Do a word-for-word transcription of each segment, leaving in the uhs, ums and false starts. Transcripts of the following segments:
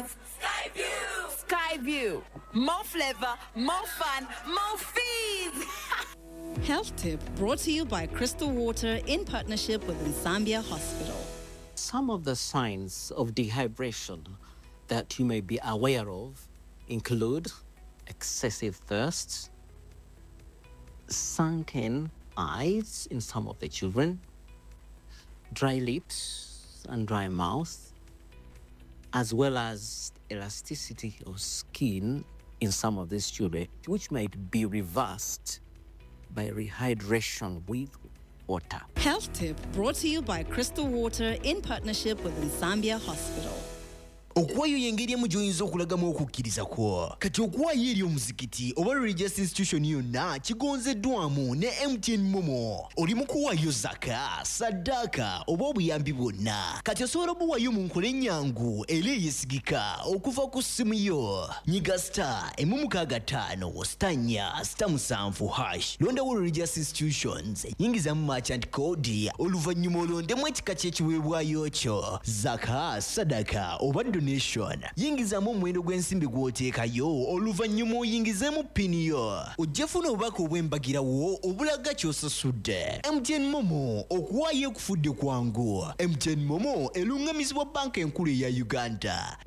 have Skyview. Skyview. More flavor, more fun, more fees. Health tip brought to you by Crystal Water in partnership with Nsambya Hospital. Some of the signs of dehydration that you may be aware of include excessive thirst, sunken eyes in some of the children, dry lips and dry mouth, as well as elasticity of skin in some of these children, which might be reversed by rehydration with water. Health tip brought to you by Crystal Water in partnership with Nsambya Hospital. Okuwaayo y'engeri emu gy'oyinza okulagamu okukkiriza kwo. Kati okuwaayo eri omuzikiti oba religious institution yonna kigonzeddwamu ne M T N MoMo. Oli mu kuwaayo zaka, saddaaka oba obuyambi bwonna. Kati osobola obuwaayo mu nkola ennyangu era eyesigika okuva ku ssimu yo. Nyiga star emu mukaaga ttaano star nnya star musanvu hash. Londawo religious institutions, yingizamu merchant code, oluvannyuma olondemu ekika ky'ekiweebwayo kyo, zaka, sadaka oba donation. Yingizamu omuwendo gw'ensimbi gw'oteekayo, oluvannyuma oyingizeemu PIN yo. Ojja funa obubaka obw'embagirawo obulaga ky'osasudde. M T N MoMo, okuwaayo ekufudde kwangu. M T N MoMo eruŋŋamizibwa Banka Enkulu eya Uganda.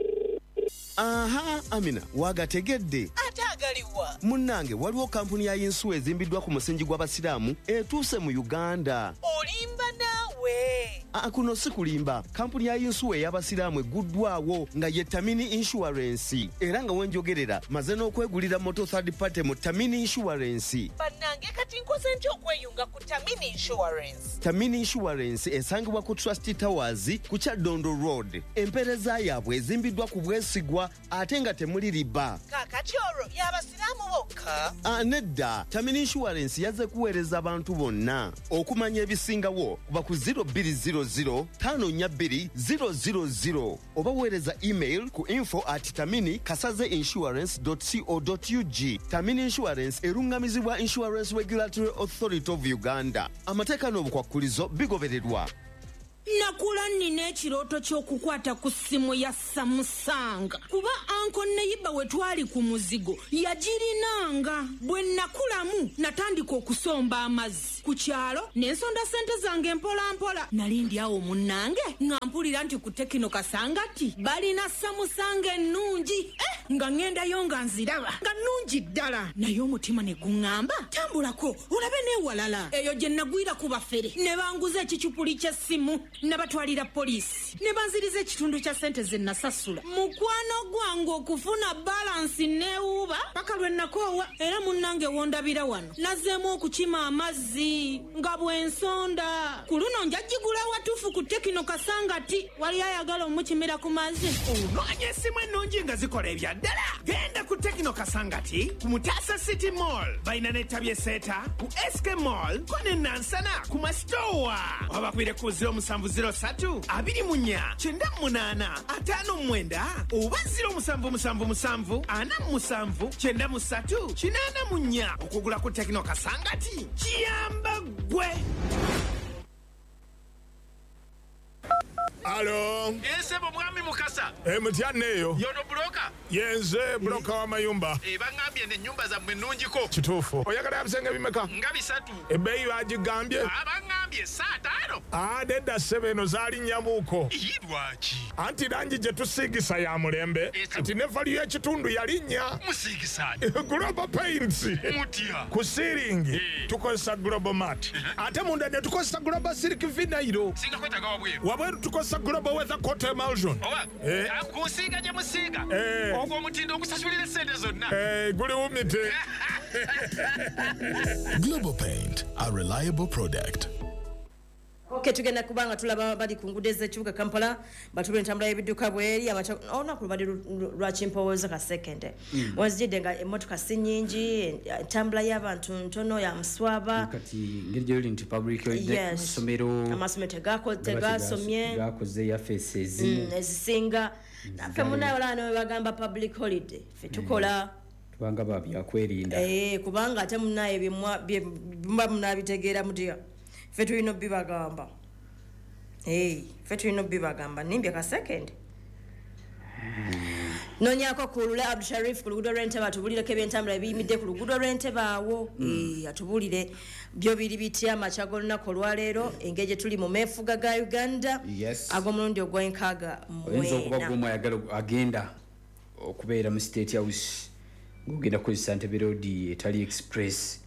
Aha, Amina, wagategedde? Ate agaliwa? Munnange, waliwo kampuni ya yinsuwa ezimbiddwa ku musingi gw'Abasiraamu etuuse mu Uganda. Olimba naawe. Aa, kuno si kulimba. Kampuni ya yinsuwa ey'Abasiraamu egguddwawo nga ye Tamini Insurance, era nga wenjogerera maze n'okwegulira motor third party mu Tamini Insurance. Bannange, kati nkoze ntya okweyunga ku Tamini Insurance? Tamini Insurance esangibwa ku Trust Towers ku Kyaddondo Road. Empeereza yaabwe ezimbiddwa ku bwesigwa ate nga temuli riba. Kaakati olwo y'Abasiraamu bokka? Ah, nedda. Tamini Insurance yazze kuweereza abantu bonna. Okumanya ebisingawo kuba ku zero two zero zero five four two zero zero zero oba weereza email ku info at tamini kasaze insurance co ug. Tamini Insurance eruŋŋamizibwa Insurance Regulatory Authority of Uganda. Amateeka n'obukwakkulizo bigobererwa. Nakula nnina ekirooto ky'okukwata ku ssimu ya Samsung, kuba uncle neighbour we twali ku muzigo yagirinanga. Bwe nakulamu natandika okusomba amazzi ku kyalo ne nsonda sente zange mpolampola. Nali ndi awo munnange nga mpulira nti ku Tecno Kasangati balina Samsung ennungi. Eh, nga ŋŋendayo nga nziraba nga nnungi ddala, naye omutima ne guŋŋamba, "Tambulako olabe n'ewalala." Eyo gye nagwira ku bafere ne banguza ekicupuli ky'essimu. Nabatwalira poliisi ne banziriza ekitundu kya ssente ze nasasula. Mukwano gwange, okufuna balance neewuuba paka lwe nakoowa. Era munnange, wondabira wano nazzeemu okukima amazzi nga bw'ensonda. Ku luno njagigula watuufu ku Tecno Kasangati. Wali ayagala omukimira ku mazzi? Onoonya essimu ennungi nga zikola ebya ddala? Genda ku Tecno Kasangati ku Mutasa City Mall. Balina n'ettabi eseeta ku S K Mall ko ne Nansana ku Masitowa. Wabakubire ku zero seven zero three twenty-four ninety-eight fifty-nine oba zero seven seven seven forty-seven ninety-three eighty-four. Okugula ku Tecno Kasangati kiyamba ggwe. Alo. Esebo, mwami Mukasa. E, mutyanne eyo. Yono broker? Yenze broker w'amayumba. E, baŋŋambye n'ennyumba zammwe nnungiko. Kituufu. Oyagala bisenge bimeka? Nga bisatu. Ebbeeyi bagigambye? Baŋŋambye saataano. Ah, nedda ssebe, eno zaali nnyamuuko. Ii, lwaki? Anti langi gye tusiigisa ya mulembe. Kati ne value y'ekitundu yalinnya. Musiigisa? Global Paints. Mutya? Ku ceiling tukozesa Global Mat, ate munda ne tukozesa Global Silk Vinyl. Singa kwetaaga wabweru? Wabweru tukozesa Global Weather Coat Emulsion. Oba Eh. kusiiga gye musiiga, Eh. ogwo omutindo ogusasulira essente zonna. Eh, guli wumite. Global Paint, a reliable product. Ok, tugenda kubanga tulaba bali ku nguudo ez'ekibuga Kampala, batula entambula y'ebidduka bweri. Olunaku lubadde lwa kimpowooza ka sekende. Mm. Wazijidde nga emmotoka si nnyingi, entambula y'abantu ntono, ya muswaba. Kati ngeri gyoli nti public holiday, Yes. amasomero amasomero tegako- tegasomye. Gakoze yafeesi ezimu. Mm, ezisinga naffe munaye olaba ne bagamba public holiday, ffe tukola. Tubanga ba byakwerinda. Eh, kubanga ate munaye byemwa- bye muba munabitegeera mutya, ffe tulina obbibagamba. Eh, ffe tulina obbibagamba. Nimbye ka second. Nonyako ku Lule Abdusharif ku luguudo lw'Entebbe atubulireko ebyentambula ebiyimidde ku luguudo lw'Entebbe awo. Mm. E, atubulire byo biri bitya amakya g'olunaku olwaleero, engeri gye tuli mu meefuga ga Uganda. Yes. Ag'omulundi ogw'enkaaga Oyinza okuba mwena. Gw'omu ayagala agenda okubeera mu State House ng'ogenda kukozesa Ntebe Road etali express,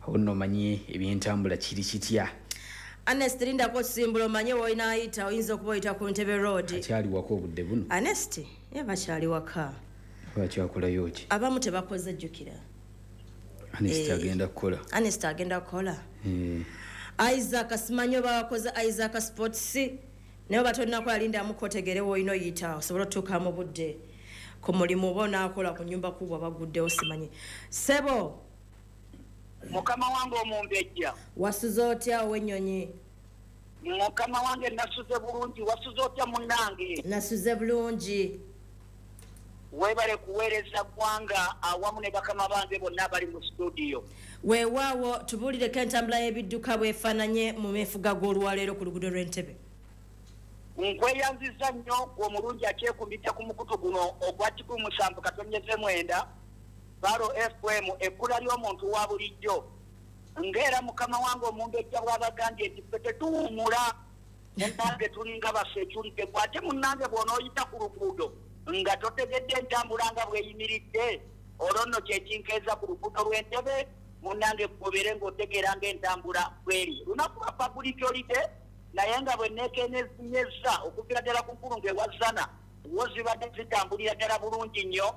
awo nno omanye ebyentambula kiri kitya. Ernest, lindako okusimbula omanye w'onaayita, oyinza okuba oyita ku Ntebe Road. Akyali waka obudde buno? Ernest ye bakyali waka. Bakyakolayo ki? Abamu tebakoze, jjukira. Ernest Eh. agenda kukola. Ernest agenda kukola. Eh, Isaac simanyi oba wakoze Isaac Sports, naye oba tolinakola lindamu kotegere woolina oyita osobole otuuka mu budde ku mulimu, oba onaakola ku nyumba kubwa baguddewo, simanyi. Sebo. Mukama wange omumbejja. Wasuze otya ow'ennyonyi? Mukama wange, nasuze bulungi. Wasuze otya munnange? Nasuze bulungi. Weebale kuweereza ggwanga awamu ne bakama bange bonna abali mu studio. Weewaawo, tubuulireko entambula y'ebidduka bwefaananye mu meefuga g'olwaleero ku luguudo lw'Entebe. Nkweyanziza nnyo omulungi akyekumbidde ku mukutu guno ogwa kikumi musanvu katonyeze mwenda Baro F M, ekkula ly'omuntu wa bulijjo. Ng'era mukama wange omumbejja bw'abagambye nti ffe tetuwummula, munnange tulinga basekyulidde. Ate munnange bw'onooyita ku luguudo nga totegedde entambula nga bw'eyimiridde, olwo nno kyekinkeeza ku luguudo lw'Entebe. Munnange, gobeere ng'otegeera ng'entambula bweri. Lunaku lwa public holiday, naye nga bwe neekenenyeza okuviira ddala ku nkulungo ewazana wo zibadde zitambulira ddala bulungi nnyo.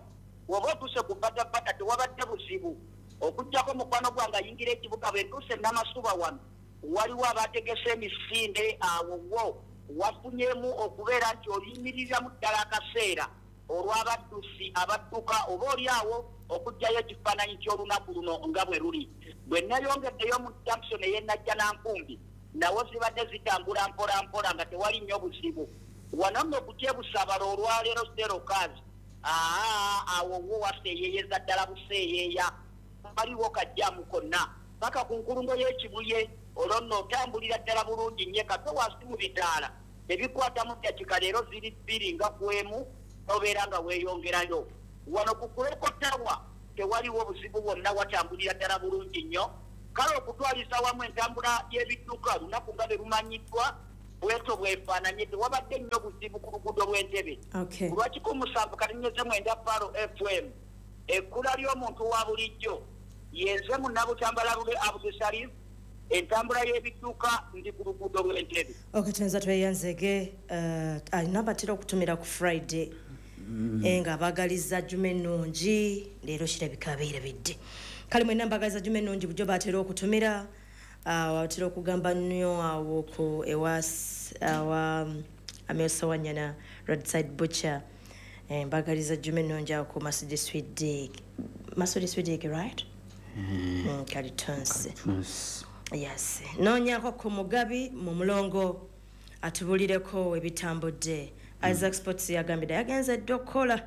Bw'oba otuuse ku Batabata tewabadde buzibu, okuggyako mukwano gwange ayingira ekibuga. Bwe ntuuse Namasuba wano waliwo abategese emisinde, awo wo wafunyemu okubeera nti oyimiriramu ddala akaseera olw'abaddusi abadduka oba oli awo okuggyayo ekifaananyi ky'olunaku luno nga bwe luli. Bwe nayongeddeyo mu junction ey'e Najjanankumbi, nawo zibadde zitambula mpola mpola nga tewali nnyo buzibu. Wano nno ku Kyebusabala olwaleero serokazi aa awo wo waseeyeeyeza ddala buseeyeeya, waliwo kajjamu konna paka ku nkulungo y'Ekibuye. Olwo nno otambulira ddala bulungi nnyo. Kato wansi mu bitaala ebikwatamu ddakika leero ziri bbiri nga ku emu obeera nga weeyongerayo. Wano ku Kuleko Tawa tewaliwo buzibu bwonna, watambulira ddala bulungi nnyo. Kale okutwaliza wamu entambula y'ebidduka lunaku nga bwe lumanyiddwa bwetyo bwefaananye, tewabadde nnyo buzibu ku luguudo lw'Entebe. Okay. Lwakikumi musanvu katinyeze mwenda Palo F M, ekkula ly'omuntu wa bulijjo, yenze Munnabutambala Lule Abdusharif. Entambula y'ebidduka, ndi ku luguudo lw'Entebe. Okay, tuyinza tweyanzege. uh, alina batera okutumira ku Friday mm. nga bagaliza juma ennungi, leero kirabika abeerabidde. Kale mwenna mbagaliza juma ennungi. Bulijjo batera okutumira, uh, batera okugamba nnyo awo ku ewa awa Amiosa Wanyana Roadside Butcher. Eh, mbagaliza juma ennungi awo ku Masudi Sweet, Masudi Sweet, right? Mm, Kalitonsi. Yes, noonyako ku Mugabi mu mulongo atubulireko ebitambudde. Isaac Sports yagambye yagenze dda okukola.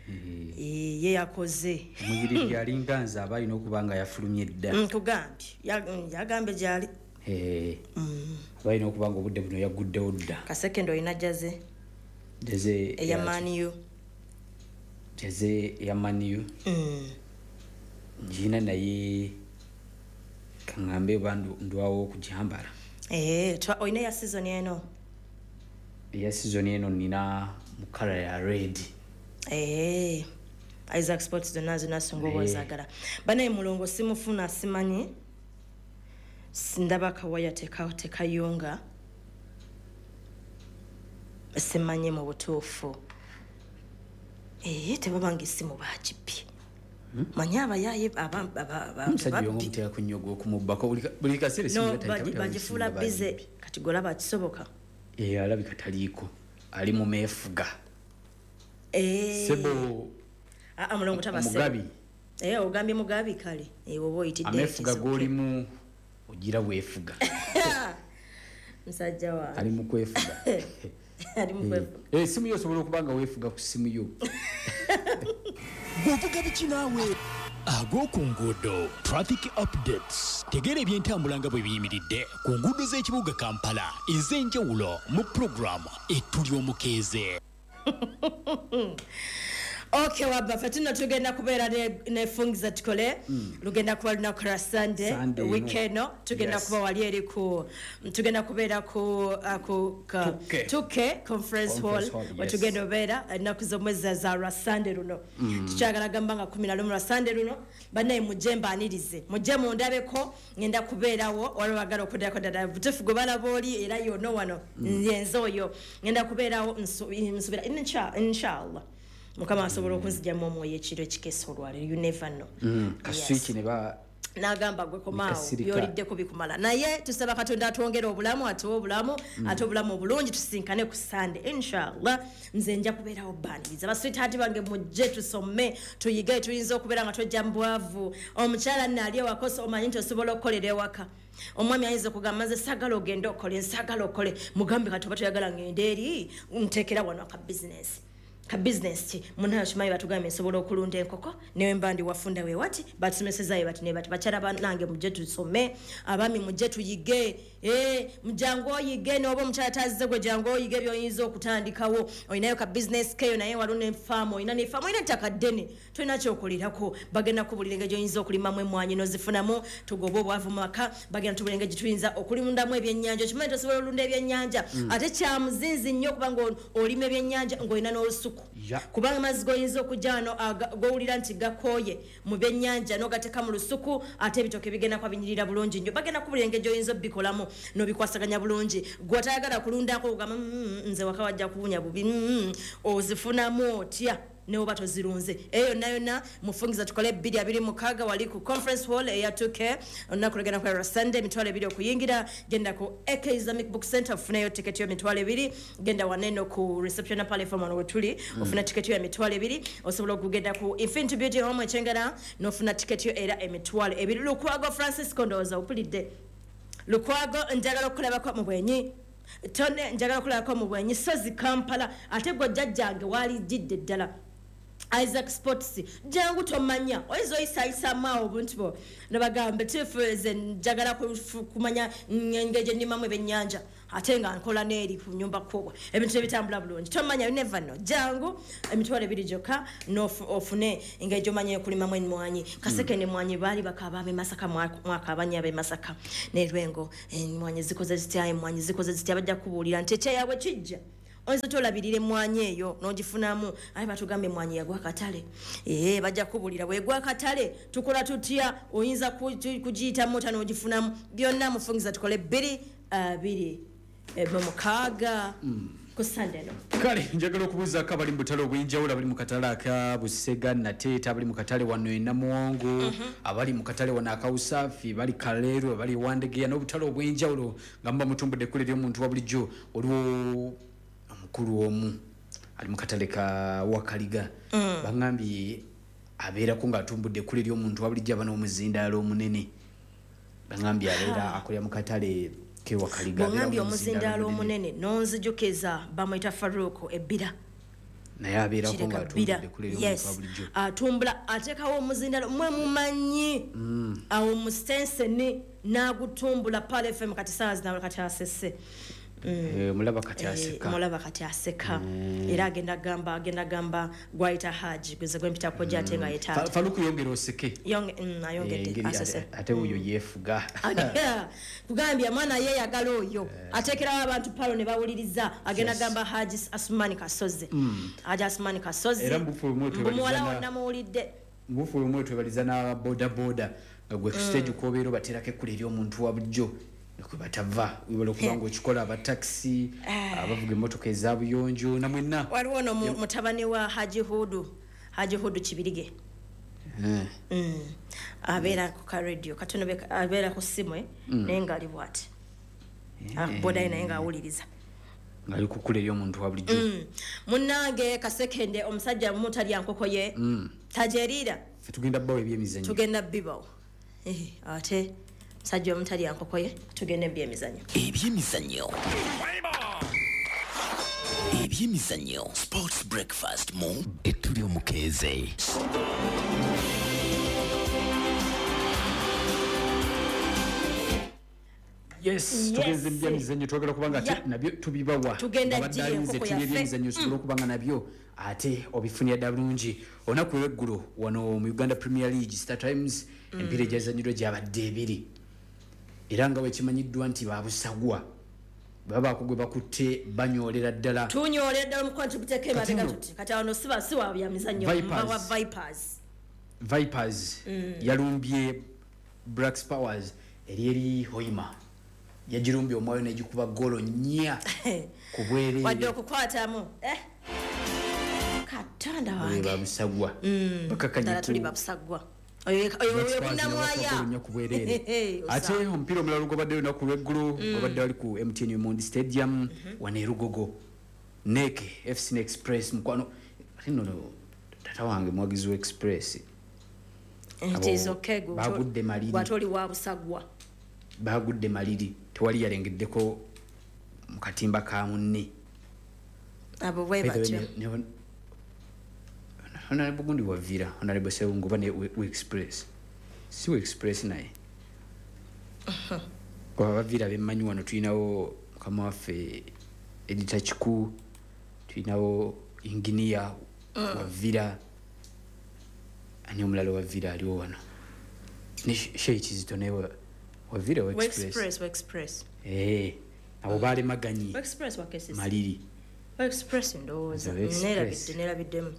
Eh, ye yakoze. Omuyiriri yalinga nze aba alina okuba nga yafulumye dda. Nkugambye. Ya- mm, yagambye gyali. Eh, aba alina okuba nga obudde buno yaguddewo dda. Kasekendo, olina jersey Jersey? Eya Man U. Jersey eya Man U? Mm. Ngina, naye kaŋŋambe oba ndu- ndwawo okugyambala. Eh, twa- olina eya season eno? Eya season eno nina mu colour ya red. Eh, Isaac Sports zonna zonna singa oba Eh. ozaagala. Banaye mulongo simufuna, simanyi. S- ndaba kawaya teka tekayunga, simanyi mu butuufu. Eh, tebabanga essimu bagibye, manyi abayaye aba- aba- aba- Omusajja babbi. oyo omutera kunyoga okumubbako buli ka- buli kaseera essimu No, nga tayita- bagi- tayita bagifuula essimu nga bize. Kati golaba kisoboka? Eh, alabika taliiko, ali mu meefuga. Eh. Sebo. Ah, ah, mulongo taba sebo. Mugabi. Eh, ogambye Mugabi, kale. Eh, oba oyitidde. Ameefuga g'olimu ogira weefuga. Musajja wange. Ali mu kwefuga. Ali mu kwefuga. Eh, essimu yo osobola okuba nga weefuga ku ssimu yo. Gwovuga biki naawe? Ag'oku nguudo, traffic updates. Tegeera ebyentambula nga bwe biyimiridde ku nguudo z'ekibuga Kampala ez'enjawulo mu pulogulaamu Ettuli Omukeeze. Okay, wabba ffe tuno tugenda kubeera ne- ne Fungiza Tukole. Mm. Lugenda kuba lunaku lwa Sunday, Sunday, weekend no. no tugenda Yes. kuba wali eri ku tugenda kubeera ku uh, ku ka- Tuke. Tuke Conference Hall, Conference Hall, yes. wetugenda obeera ennaku z'omwezi za lwa Sunday luno. Mm. Tukyagala gamba nga kumi na lumu lwa Sunday luno. Bannaye mujje mbaanirize, mujje mundabeko, ngenda kubeerawo. Waliwo bagala okuddako ddala butuufu gwe balaba oli era yono wano. Mm. Nze oyo ngenda kubeerawo, nsu- nsuubira insha- inshallah Mukama asobola okunzigyamu omwoyo ekiro ekikeesa olwaleero, you never know. Mm, kaswiki ne ba N'agamba gwe komaawo, Kasirika. byoliddeko bikumala. Naye tusaba Katonda atwongere obulamu, atuwe obulamu, Mm. ate obulamu obulungi, tusinkane ku Sande inshallah. Nze nja kubeerawo baniriza baswitaati bange, mujje tusome, tuyige. Tuyinza okubeera nga twejja mu bwavu. Omukyala nno ali ewaka, oso- omanyi nti osobola okukolera ewaka. Omwami ayinza okugamba, nze saagala ogende okole, nsaagala okole. Mugambe, kati oba toyagala ngende eri, nteekera wano aka bizinesi. Ka bizinesi ki? Munayo kimanyi, batugambye nsobola okulunda enkoko newe mba ndi wafunda we wati batusomesezayo bati ne bati. Bakyala banange mujje tusome, abaami mujje tuyige. Eh, mujangu oyige, noba omukyala tazze, gwe jangu oyige byoyinza okutandikawo. Olinayo ka bizinesi keyo, naye waliwo nefaamu, olina nefaamu, olina ettaka ddene, tolina kyokolerako. Bagenda kubulira engeri gyoyinza okulimamu emwanyi nozifunamu, tugobe obwavu mu maka. Bagenda tubulira engeri gyetuyinza okulundamu ebyennyanja. Okimanyi tosobola olunda ebyennyanja? Mm. Ate kyamuzinzi nnyo okubanga olima ebyennyanja ng'olina n'olusuku, Ya. kubanga amazzi goyinza okujja wano aga- gowulira nti gakooye mu byennyanja n'ogateeka mu lusuku, ate ebitooke bigenda kuba binyirira bulungi nnyo. Bagenda kubulira engeri gy'oyinza obikolamu n'obikwasaganya bulungi. Gwe otayagala kulundako ogamba, "Mm, nze waka wajja kuwunya bubi." Mm, ozifunamu otya newoba tozirunze? Eyo yonna yonna Mufungiza Tukole bbiri abiri mukaaga wali ku Conference Hall eya two K. Olunaku lugenda kubeera Sunday, emitwalo ebiri okuyingira. Genda ku A K Islamic Book Center ofuneyo tiketi yo emitwalo ebiri. Genda waneno ku reception platform wano wetuli, Mm. ofuna tiketi yo emitwalo ebiri. Osobola okugenda ku Infinity Beauty Home Ekyengera n'ofuna tiketi yo era emitwalo ebiri. Lukwago Francisco, ndowooza opulidde. Lukwago, njagala okukulabako mu bwenyi. Tone, njagala okulabako mu bwenyi. Sozi Kampala, ate gwe jjajjange walijjidde ddala. Isaac Sports, jangu, tomanya oyinza oyisaayisamu awo obuntu bwo nobagamba tuufu. Nze njagala kufu- kumanya engeri gye nnimamu ebyennyanja ate nga nkola n'eri ku nyumba kuwa ebintu ebitambula bulungi. Tomanya, you never know. Jangu, emitwalo ebiri gyokka n'ofu- ofune engeri gyomanya okulimamu emwanyi. Kaseke nemwanyi baali bakaaba ab'e Masaka, mwakaabanya ab'e Masaka nerwengo, emwanyi zikoze zitya? Emwanyi zikoze zitya? Bajja kubuulira nti ekyeyabwe kijja, oyinza otolabirira emwanyi eyo n'ogifunamu. Aye batugamba emwanyi yagwa akatale. Ee, bajja kubuulira bwegwa akatale tukola tutya, oyinza ku- kugiyitamu otya n'ogifunamu. Byonna Mufungiza Tukole bbiri abiri eh, mu mukaaga ku Sande eno. Kale njagala okubuuzaako abali mu butale obw'enjawulo, abali mu katale aka Busega Nateeta, abali mu katale wano e Namuwongo, abali mu katale wano akawusaafi, bali Kaleero, abali Wandegeya n'obutale obw'enjawulo nga muba mutumbudde ekkula ery'omuntu wa bulijjo. Waliwo omukulu omu ali mu katale ka Wakaliga, Mm. baŋŋambye abeerako ng'atumbudde ekkula ery'omuntu wa bulijjo, aba n'omuzindaalo omunene. Baŋŋambye abeera akolera mu katale kewakaliga. Bwongambye omuzindaalo omunene nonzijukiza bamwita Faruku Ebbira. Naye abeerako Kireka ng'atumbudde Bbira. ekkula ery'omuntu wa Yes, bulijjo. atumbula, ateekawo omuzindaalo mwe mumanyi Mm. awo mu stenseni n'agutumbula Pal F M. Kati saawa zinawe kati asese. Mm. Eh, mulaba kati Eh, aseka. mulaba kati aseka. Mm. Era agenda gamba agenda gamba gwayita Haji, gweze gwempitako gye ate nga Fa- yetaata. Faluku yongera oseke. Yonge- mm, ayongedde. Eh, engeri asese. ate- ate oyo yeefuga. Kugambye mwana yeeyagala oyo ateekerawo abantu palo ne bawuliriza. Agenda Yes. gamba Haji Asumani Kasozi. Mm. Haji Asumani Kasozi. Era mubufu bumwe mbu muwala twebaliza wo na- namuwulidde. Mubufu bumwe twebaliza n'ababodaboda nga gwe ku Mm. stage kwobeera obateerako ekkula ery'omuntu wa bulijjo kwe batava. Webala okuba nga okikola, abatakisi, abavuga emmotoka eza buyonjo, namwenna. Waliwo no mu- mutabani wa Haji Hudu, Haji Hudu Kibirige. Eh, Mm. abeera ku ka radio katono, be- abeera ku ssimu eh, Mm. naye ng'ali bwati bodayo naye ng'awuliriza. Ng'ali ku kkula ery'omuntu wa bulijjo. Mm. Munnange Kasekende, omusajja mutalya nkoko ye, Mm. tajeriira. Ffe tugenda bbawo ebyemizannyo. Tugenda bibawo. Eh, ate musajja omutalya nkoko ye, tugenda ebyemizannyo. Ebyemizannyo, ebyemizannyo, Sports Breakfast mu Ettuli Omukeeze. Yes, tugenze mu byamizannyo, twagala kubanga ate Yeah. nabyo tubibawa. Tugenda Abadde ddira alinze enkoko ttiimu yaffe. y'ebyemizannyo osobole okuba nga nabyo ate obifunira ddala bulungi. Olunaku olweggulo wano mu Uganda Premier League, Star Times, Mm. emipiira egyazannyidwa gyabadde ebiri, era nga bwekimanyiddwa nti babusagwa babaako gwe bakutte banyoolera ddala. Tunyoolera ddala omukwano, tuguteeka emabega. Kati nno- Tuti kati wano siba si wa byamizannyo, Vipers. mba wa Vipers. Vipers Mm. yalumbye Blacks Powers eri eri Hoima, yagirumbye omwayo negikuba golo nnya ku Wadde bwereere. okukwatamu, eh katonda wange. Babusagwa Mm. bakakanye Ddala ku tuli babusagwa. Oyo oyo oyo bunamwaya. Nnyo ku bwereere. Osa. Ate omupiira omulala ogwabadde olunaku lweggulo Mm. gwabadde wali ku M T N Omondi Stadium wano e Lugogo, nek F C ne Express. Mukwano, ate nno tata wange muwagizi wa Express. It is okay, gwe Bagudde maliri. Bw'ate oli wa busagwa. Bagudde maliri, tewali yalengeddeko mu katimba ka munne. Abo bwe By the way, batyo. ne- ne- Honorable gundi wavira, Honorable Sewungu, oba ne we we Express, si we Express, naye kuba bavira bemmanyi wano tulinawo mukama waffe Edita Kiku, tulinawo inginiya Mm. wavira, ani omulala wavira aliwo wano, ne Shei Kizito naye wa- wavira wa Wa Express. Express, wa Express. Eh, abo balemaganyi Wa Express, wa K C C. maliri. Wa Express ndowooza. Wa Express. Neerabidde, neerabiddemu.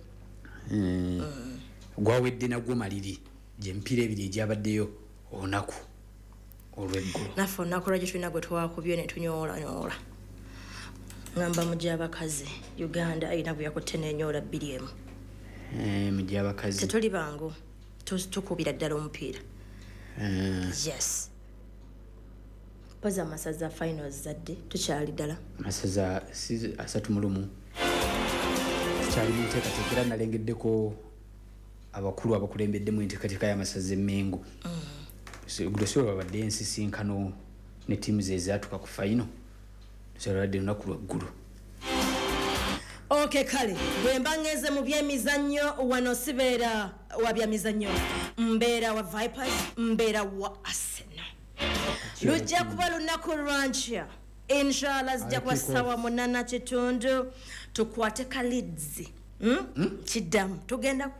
Mm. Gwawedde nagwo maliri, gyemipiira ebiri egyabaddeyo olunaku olweggulo. Naffe olunaku lwaki tulina gwe twakubye ne tunyoolanyoola, ngamba mu gy'abakazi Uganda erina gwe yakutte n'enyoola bbiri emu. Eh, mu gyabakazi. Tetuli bangu. Tu- tukubira ddala omupiira. Eh, Yes, mpozi amasaza finals zadde tukyali ddala. Masaza si asatu mu lumu, tukyali mu nteekateeka, era nalengeddeko abakulu abakulembeddemu enteekateeka y'amasaza emmengo. Gulo si babadde ensisinkano ne ttiimu ze ezaatuka ku fayino, solabadde lunaku lwaggulo. Ok, kale bwe mba ngenze mu byemizannyo wano sibeera wa byamizannyo, mbeera wa Vipers, mbeera wa Arsenal. Lujja kuba lunaku lwankya, inshallah, zijja kuba Kick off. sawa munana kitundu, tukwate ka Leeds. Hmm? Kiddamu tugenda kwa